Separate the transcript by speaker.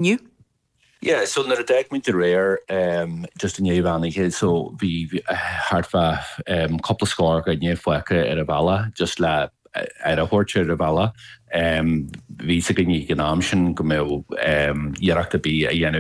Speaker 1: Inniu.
Speaker 2: Yeah, so nuair a d'fhág muid aréir, just i ndiaidh mheán oíche, so bhí thart fá cúpla scór duine fágtha ar an bhealach, just le aire a thabhairt ar an bhealach. Bhí fhios againn ag an am sin go mbeadh iarracht ar bith a dhéanamh.